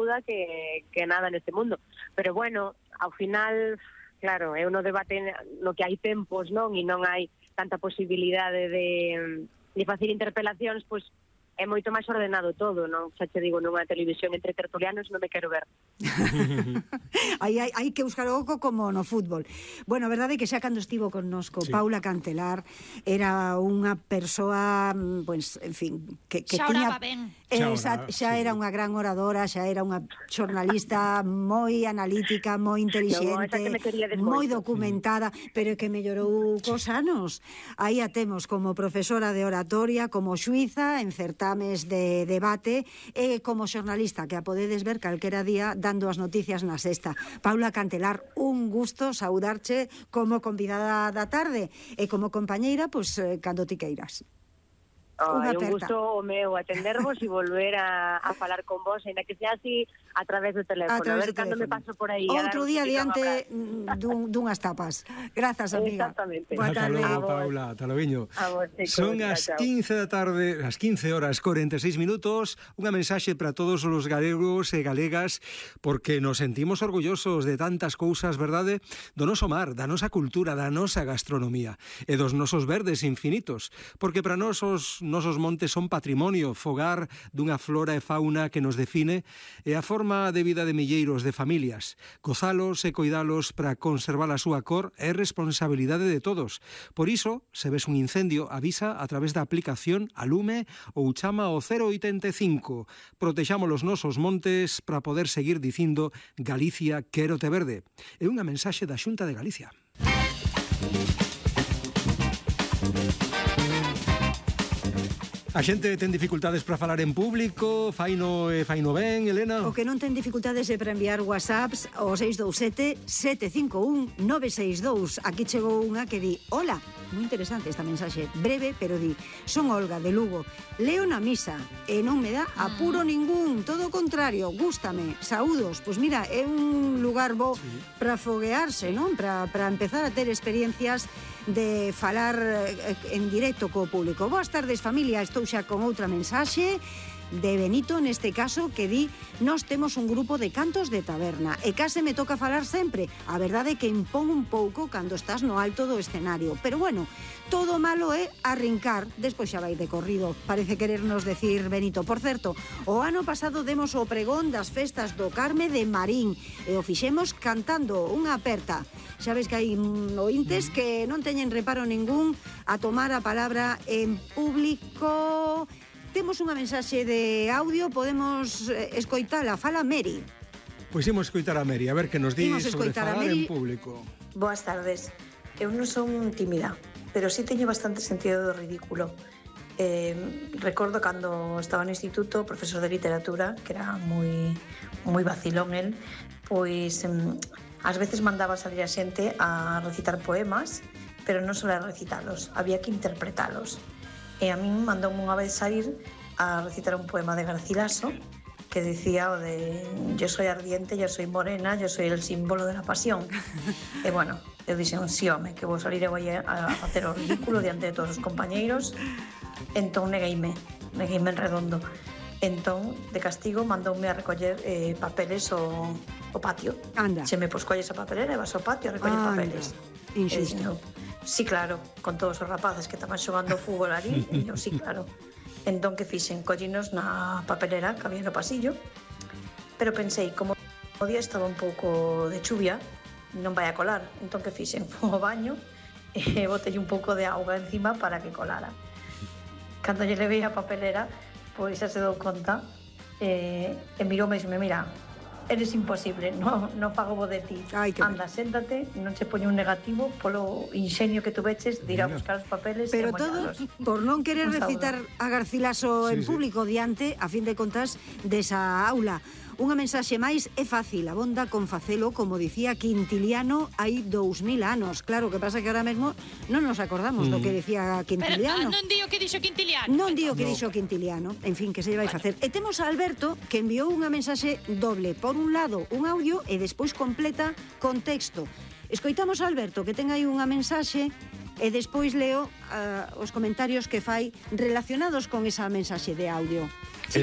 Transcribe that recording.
ajuda que nada neste mundo. Pero bueno, ao final, claro, é no debate no que hai tempos, non? E non hai tanta posibilidade de facer interpelacións, pois é moito máis ordenado todo, non? Xa che digo, nunha televisión entre tertulianos non me quero ver. hai que buscar o oco como no fútbol. Bueno, a verdade é que xa cando estivo connosco Paula Cantelar era unha persoa, pues, en fin, que xa tiña... oraba ben. Xa era unha gran oradora, xa era unha xornalista moi analítica, moi inteligente, moi documentada, pero que mellorou cos anos. Aí a temos como profesora de oratoria, como xuíza en certames de debate e como xornalista, que a podedes ver calquera día dando as noticias na Sexta. Paula Cantelar, un gusto saudarche como convidada da tarde e como compañeira, pois, cando ti queiras. Un gusto o meu atendervos e volver a falar con vos, ainda que sea así a través do teléfono. A ver cando me paso por aí. Outro día diante dunhas tapas. Grazas, amiga. Exactamente. Ata logo, Paula, ata logo. Son as 15 da tarde, as 15 horas 46 minutos, unha mensaxe para todos os galegos e galegas, porque nos sentimos orgullosos de tantas cousas, verdade? Do noso mar, da nosa cultura, da nosa gastronomía e dos nosos verdes infinitos, porque para nós os nosos montes son patrimonio, fogar dunha flora e fauna que nos define e a forma de vida de milleiros de familias. Gozalos e coidalos para conservar a súa cor é responsabilidade de todos. Por iso, se ves un incendio, avisa a través da aplicación Alume ou chama ao 085. Protexamos os nosos montes para poder seguir dicindo Galicia, quérote verde. É unha mensaxe da Xunta de Galicia. A xente ten dificultades para falar en público, faino ben, Elena? O que non ten dificultades é para enviar whatsapps ao 627-751-962. Aquí chegou unha que di: hola, moi interesante esta mensaxe, breve, pero di: son Olga de Lugo, leo na misa e non me dá apuro ningún, todo o contrario, gústame, saúdos. Pois mira, é un lugar bo para foguearse, non? Para empezar a ter experiencias de falar en directo co público. Boas tardes, familia, estou xa con outra mensaxe de Benito, neste caso, que di: nós temos un grupo de cantos de taberna e case me toca falar sempre. A verdade é que impón un pouco cando estás no alto do escenario, pero bueno, todo malo é arrincar, despois xa vai de corrido, parece querernos decir Benito. Por certo, o ano pasado demos o pregón das festas do Carme de Marín e o fixemos cantando unha aperta. Xa ves que hai ointes que non teñen reparo ningún a tomar a palabra en público. Temos unha mensaxe de audio, podemos escoitala. Fala Meri. Pois imos escoitar a Meri, a ver que nos di sobre falar en público. Boas tardes. Eu non son tímida, pero sí teño bastante sentido do ridículo. Recordo cando estaba no instituto, o profesor de literatura, que era moi vacilón el, pois ás veces mandaba salir a xente a recitar poemas, pero non só a recitalos, había que interpretalos. E a min mandoume unha vez sair a recitar un poema de Garcilaso que decía o de: yo soy ardiente, yo soy morena, yo soy el símbolo de la pasión. E bueno, eu dixen: sí, home, que vou salir e vou a facer o ridículo diante de todos os compañeiros. Entón negueime en redondo. Entón, de castigo, mandoume a recoller papeles o patio. Anda. Se me colles a papelera e vas ao patio a recoller papeles. Injusto. Sí, claro, con todos os rapaces que estaban xogando fútbol ali, e eu, sí, claro. Entón, que fixen? Collinos na papelera que había no pasillo, pero pensei, como o día estaba un pouco de chuvia, non vai a colar. Entón, que fixen? Fui ao baño e botei un pouco de auga encima para que colara. Cando lle levei a papelera, pois xa se dou conta e miroume e dixeme: mira, eres imposible, non fago bo de ti. Anda, séntate, non che poño un negativo polo inxenio que tu veches de ir a buscar os papeles. Pero todo por non querer recitar a Garcilaso en público diante, a fin de contas, desa aula. Unha mensaxe máis é fácil, abonda con facelo, como dicía Quintiliano hai 2000 anos. Claro, que pasa que ahora mesmo non nos acordamos do que decía Quintiliano. Pero non di o que dixo Quintiliano. Non di o que dixo Quintiliano. En fin, que se lle vai facer. E temos a Alberto, que enviou unha mensaxe doble. Por un lado, un audio e despois completa con texto. Escoitamos a Alberto, que ten aí unha mensaxe, e despois leo os comentarios que fai relacionados con esa mensaxe de audio. Sí.